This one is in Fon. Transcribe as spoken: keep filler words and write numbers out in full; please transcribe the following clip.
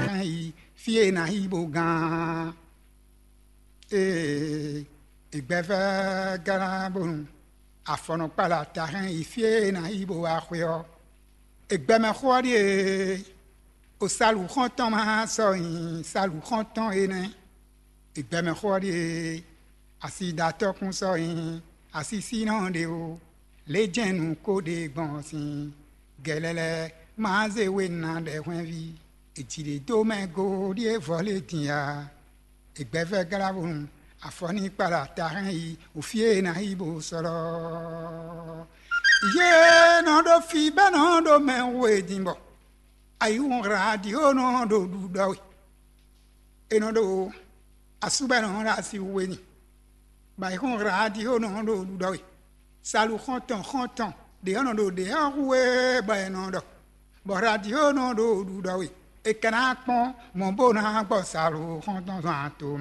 hɛn yi fí e è nǎ yi bó gán. Ee, è gbɛ́ vɛ́ glán bónú afɔnɔkpala ta hɛn yi fí e è nǎ yi bó wá xwé ɔ́. È gbɛ́ mɛ xó ɔ́ ɖíe: o salu xɔ́ntɔn ma sɔ́ nyi salu xɔ́ntɔn énɛ́. È gbɛ́ mɛ xó ɔ́ ɖíe: asi ɖatɔ́kún sɔ́ nyi asisínɔ ɖé o, lě jɛ́n nǔ ko ɖe gbɔn sin gɛlɛlɛ ma zé we ná ɖɛ hwɛ́nví. È jǐ ɖě dó mɛ go ɖíe vɔ̌ lě din ǎ. È gbɛ́ vɛ́ glá bónú afɔ ní kpala ta hɛn yi wǔfí e è nǎ yi bó sɔ́lɔ́. Yě nɔ ɖó fí bɛ́ nɔ ɖó mɛ we din bɔ ayihún radio nɔ ɖo ɖuɖɔ we. È nɔ ɖo asú bɛ́ nɔ ɖo asi we ni, bɔ ayihún radio nɔ ɖo ɖuɖɔ we. Salu xɔ́ntɔn xɔ́ntɔn ɖě ɔ́ nɔ ɖo ɖě ɔ́ hu e bɔ è nɔ ɖɔ, bɔ radio nɔ ɖo ɖuɖɔ we. È ka ná kpɔ́n mɔ̌ bó ná gbɔ salu xɔ́ntɔn zɔn ato